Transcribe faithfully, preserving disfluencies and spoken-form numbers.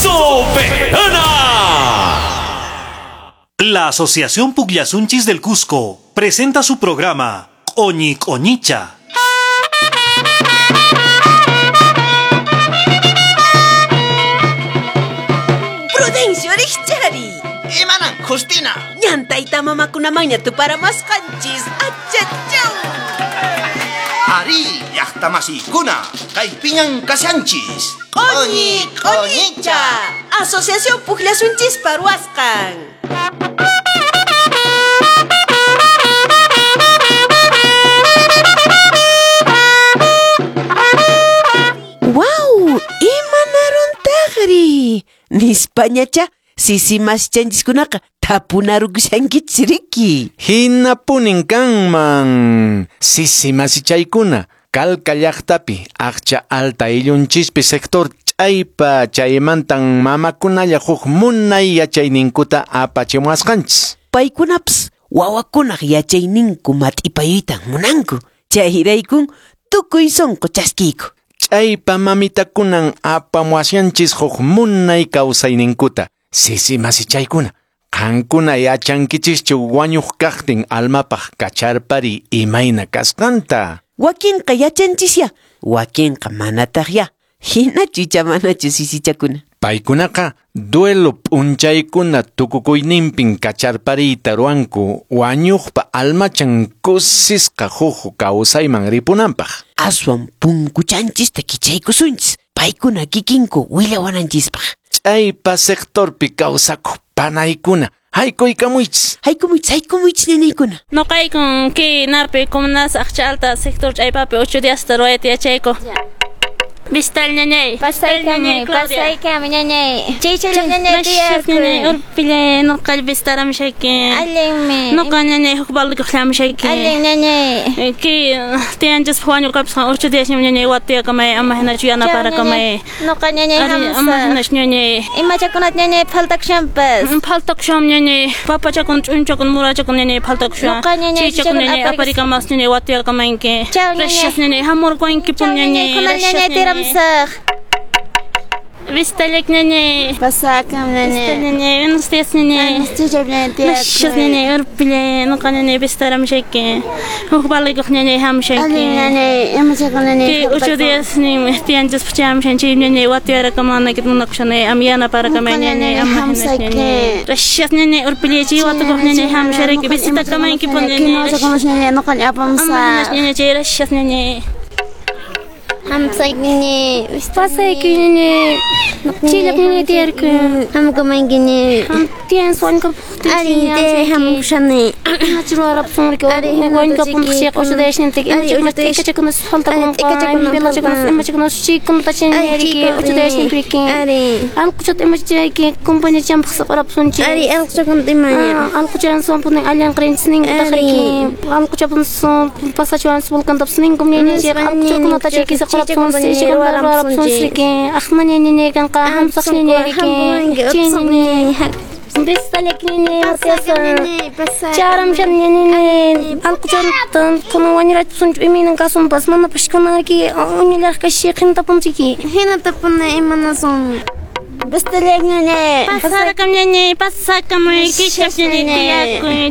¡Soberana! La Asociación Pugllasunchis del Cusco presenta su programa Oñi Oñicha. Prudencio Richari. Imanan, Justina. Ñantayta mamakunamanña tuparamasqanchis. Achachaw. Ari, llaqtamasikuna, kaypiñan kashanchis. Q'uñi Q'uñicha. Asociación Pugllasunchis paruasqan. Wow, imanaruntaqri. Nispañacha, sisi maschanchis-kunaqa tapunarukushankichis riki. Hinapunin kanman. Sisi masichaykuna, Calca llaqtapi, aqcha alta illunchispi sector ch'aypa chaymantan mamakunalla huk munay yachayninkuta apachimuwasqanchis. Paykunapas wawakunaq yachayninku mat'ipayuytan munanku. Chayraykun tukuy sunqu chaskiyku. Ch'aypa mamitakunan apamuwashanchis huk munay kawsayninkuta. Sisi masichaykuna, qankuna yachankichischu wañuq kaqtin almapaq kacharpari imayna kasqanta. Wakinqa yachanchisya, wakinqa manataqya. Hinachu icha manachu sisichakuna. Paykunaqa duelo p'unchaykuna tukukuyninpin kacharpariyta ruwanku wañuqpa almachan kusisqa huk kawsayman ripunanpaq. Aswan punkuchanchista kichaykusunchis, paykuna kikinku willawananchispaq. Ch'aypa sectorpi kawsakuq panaykuna, haykuykamuychis. Haykumuychis, haykumuychis ñañaykuna. Noqaykun kay narpi comunas aqcha alta sector ch'aypapi ocho días ruwayta yachayku. Vistal ñañay. Pasaykami, pasaykami ñañay. Chaychalla ñañay tiyarkuy. Urpillay noqall vistaramshayki. Allinmi. Noqa ñañay huk balikuq llamushayki. Allin ñañay. Kay tiyanchis wañuqapis ocho días ñañay watiyakamay ama hinachu yanaparakamay. Noqa ñañay hamsaq. Ama hinachu ñañay. Imachakunat ñañay phaltakushanpas. Phaltakusham ñañay. Papachakun ch'unchakun murachakun ñañay phaltakushan. Noqa ñañay chichakun ñañay aparikamas ñañay watiyakamanki. Chaw ñañay. Ñañay hamurqanki pun ñañay. Ñañay tiramsaq. Vistalek ñañay. Pasakam ñañay. Vistal ñañay, buenos días ñañay. Chichap ñañay tiyarkuy. Ñañay, urpillay, noqa ñañay vistaramshayki. Huk balikuq ñañay hamshayki. Allin ñañay, imachakun ñañay. Kay ocho días nin tiyanchis puchamshan chay ñañay watiyarakamanayki munakushanay am yanaparakamay ñañay ama ñañay. Gracias ñañay, urpillay chay watukuq ñañay hamsharayki visitakamanki pun ñañay. Kinochakunas ñañay, noqa apamsaq. Ñañay chay gracias ñañay. Hamsayki ñañay. Pasayki ñañay. Chillap ñañay tiyarkuy. Hamkamanki ñañay. Tiyan suankap. Allin te hamkushani. Nachruarapsunriki. Wañukapun ocho días nintik. Imachakunas faltakun. Imachakunas imachakunas chikunata chañariki. Ocho días nintriki. Ari. Alquchat imachayki compañía champaq saqarapsunchik. Ari alquchakun imaña. Alquchan sonpunin allanqrinchis ninkutaqriki. Alquchapun son pasachuan volcantapis ninkum ñañay. Alquchakunata chayki saqarapsunchik. Chikunata Aqma ñañay kanqa hamsaq ñañayriki. Chay ñañay. Vistalek ñañay pasasa. Charamshan ñañay. Alquchantan kuna wañurachsunchu imaynan kasunpas mana pashkunariki uñillaraq kashi qintapunchiki. Hinatapuna imanasun. Vistalek ñañay. Pasakam ñañay, pasakamuy, kishap ñañay tiyakuy.